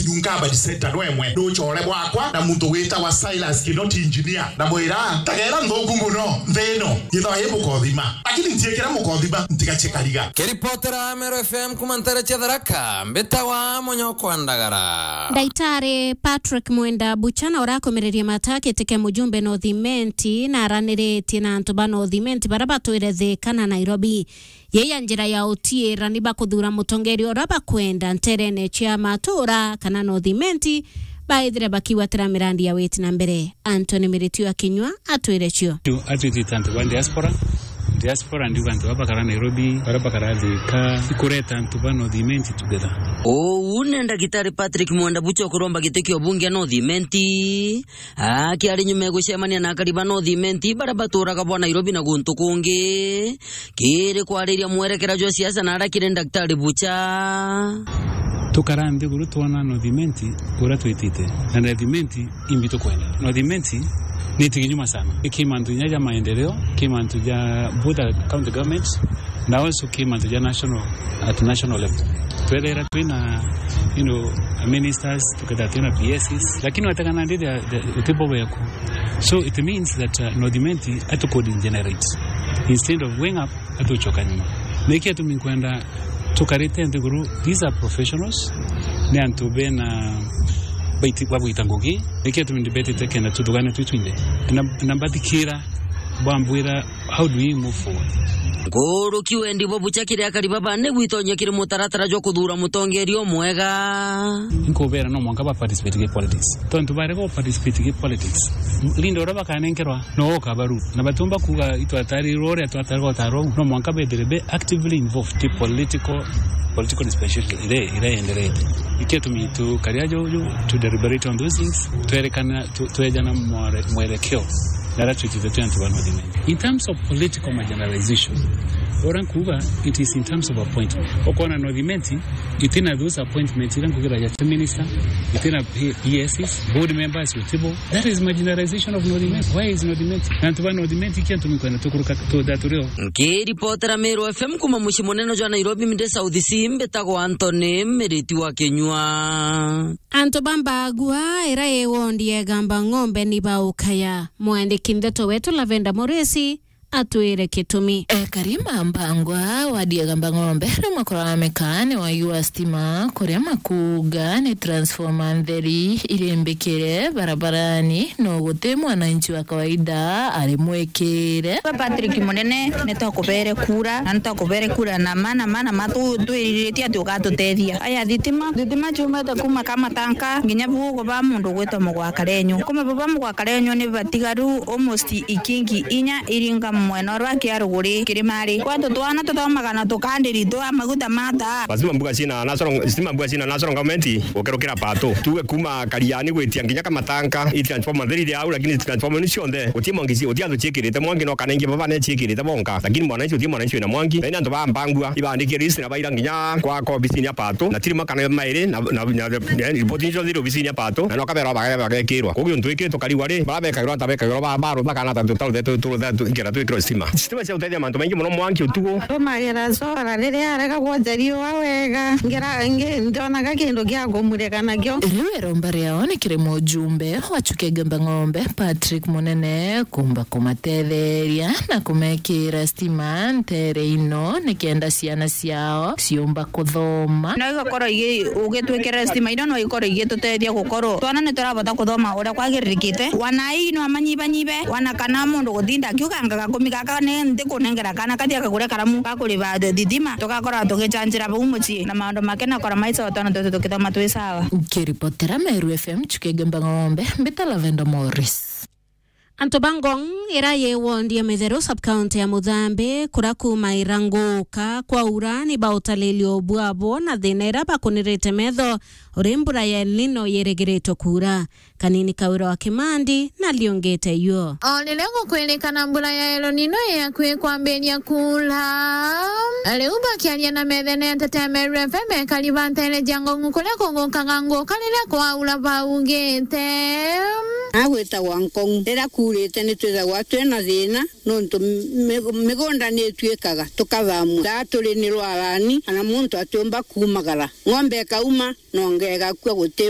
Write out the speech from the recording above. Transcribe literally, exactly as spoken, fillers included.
Yunga Badi Center no emwe. Nduchore bwakwa na muntu witagwa Silas Kinoti Engineer. Na mwira, "Tagera nthuku muno, nthi ino. Yithwa i mukothima. Lakini ntiekira mukothima, ntigache kariga." Kiripotera Meru F M kuma ntere cia Tharaka, mbitagwa Munyokwa Ndagara. Ndaitari Patrick Mwenda Buchana urakomererie mata giti kia mujumbe North Imenti na araniritie na antu ba North Imenti baria batwire Thika na Nairobi. Yei ya njira ya utiira ni bakuthuura mutongeria uria bakwenda nterene cia matuura kana North Imenti, baithire bakigwatira mirandi ya witi na mbere. Anthony Miritu akinyua atwire cio. Tu atwitite antu ba diaspora. Diaspora ndiuga antu baba bakara Nairobi, bara bakara Thika, ikureta antu ba North Imenti together. Uu ni Ndagitari Patrick Mwenda Bucha ukuromba giti kia ubunge North Imenti. Akiari nyuma ya gucemania na akari ba North Imenti bara baturaga bwa Nairobi na guntu kungi, kiri kwariria mwerekera jwa siasa na aria kiri Daktari Bucha. Tukara nthiguru twona North Imenti uria twitite, na North Imenti imbi tukwenda. North Imenti ni tiginyuma sana. Ki mantu inya ja maendeleo, ki mantu ja both county government, na also ki mantu ja national, at national level. Twethera twina, you know, ministers, tukethira twina P S Cs, lakini wategana ndi the, the, utibo weku. So it means that, uh, North Imenti atuko degenerate. Instead of going up, atuchoka nyuma. Niki atumi nkwenda tukarite nthiguru, these are professionals, ni antu bena baiti-, babwita ngugi. Niki atumi ndibetite kenda tuthugane twi twinthe. Na, na mbathikira, bambwira, how do we move forward? Nkuruki wendi bwa Bucha kiri akari baba ni gwitonyia kiri mutaratara jwa kuthuura mutongeria umwega. Nkubera no mwanka ba participate gi politics. Tontu barega participate gi politics, leader uria bakanenkerwa no ukabaru. Na batumba kuuga itwatarirwe uria twatarirwe utaru, no mwanka bethire be actively involved in political, political dispensation ire, ire enderete. Ikio tumi tukaria juju, to deliberate on those things, twerekana, tu-, twejana mwere-, mwerekeo. Nara twitite twi antu ba North Imenti. In terms of political marginalization, uria nkuuga, it is in terms of appointment. Ukona North Imenti itina those appointments iria nkugira ya minister, itina P S Cs, board members, utibo. That is marginalization of North Imenti. Why is North Imenti? Na antu ba North Imenti, ikio tumi kwenda tukuruka tu-, that turio. Nkiripotera Meru F M kuma mucii munene jwa Nairobi, Mide South C, mbitagwa Anthony Miriti wa Kinyua. Antu ba Mbagua, ira i wondi ya Igamba Ng'ombe, ni baukaya. Mwandiki ndeto wetu Lavenda Moresi atwire gitumi. Ekari ma Mbangwa, wadi ya Igamba Ng'ombe, ni makoraga mikaani wagi wa stima, kuria makuuga ni transformer ntheri irimbikire barabarani, no guti mwananchi wa kawaida ari mwikire. We Patrick Munene, ni twakubere kura, na ni twakubere kura na mana, mana, ma tu-, twiriritie ati ugatutethia. Aya thitima, thitima ciumite kuma Kamatanka nginya bugu ba mundu gwitwa Mugwakarenyu. Kuma buba Mugwakarenyu ni batigaru almost ikingi inya iringa mwena uria kia ruguri kirimari. Kwetu twana tuthomaga na tukandiri twa maguta ma taa. Lazima mbuga cina national, lazima mbuga cina national government gukerukira pato. Tuge kuma Kariani gwitia nginya Kamatanka, i transformer theri iri au, lakini transformer ni cionthe. Guti mwangi ci-, guti antu ciikirite mwangi, no kana ingi baba ne ciikirite bonka. Lakini mwananchi, guti mwananchi wina mwangi. Na ina antu ba Mbangua, ibandikire list na baira nginya kwa, kwa obisini ya pato. Na tirima kana mairi, na, na, na, na ripoti nicio thiri obisini ya pato. Na no kabera baga-, bagekirwa. Koguo ntu ikiri tukarigwa ri, bara bekagirwa ata bekagirwa ba, baru bakana ta tutau thetu, tu, tu, tu, ingera twikirwa stima. Stima cia gutethia mantu maingi muno mwangi utugu. Tumagira solar riria arega gwoja riua wega. Ngera, ngi-, ndonaga kindu gia kumurika nakio. Riu iromba riao ni kiri mujumbe wa Chuka Igamba Ng'ombe, Patrick Munene, kumba kumatetheria na kumekira stima ntere ino, nikenda ciana ciao ciumba kuthoma. No igakorwo igi-, ugitwikira stima ino, no ikorwo igitutethia gukorwo twana ni turabota kuthoma uria kwagiririkite. Wana ii no amanyibanyibe, wana kana mundu gutinda akiuga, "Ngaga kumi gaka ni ntikunengera kana kathia kagure karamu ga kuriba thitima." Tugakorwo tugichanjira bau mucii na maundu make na kora maica o twana twetu tukithoma twi sawa. Nkiripotera Meru F M, Chuka Igamba Ng'ombe, mbita Lavenda Morris. Antu ba Ngong, ira yi wondi ya Mitheru, sub-county ya Muthambi, kura kuma ira nguka kwaura, ni bautalilio bwabo na thina ira bakunirite metho uri mbura ya El Nino yirigiritwe kuura. Kanini Kawira wa Kimandi na liongete yuo. O riria gukwirikana mbura ya El Nino yakwi kwambiria kuura, riu bakiaria na methene ya Nteto ya Meru F M, ekari ba ntere cia Ngong kuria kugukaga nguka riria kwaura baugite. Agwitagwa Ngong. Riria kuurite ni twithagwa twina thina, nontu mi-, migunda ni itwikaga tukathamua. Taa turi ni rwarani, kana muntu atiumba kuumagara. Ng'ombe ikauma, na ngegakua guti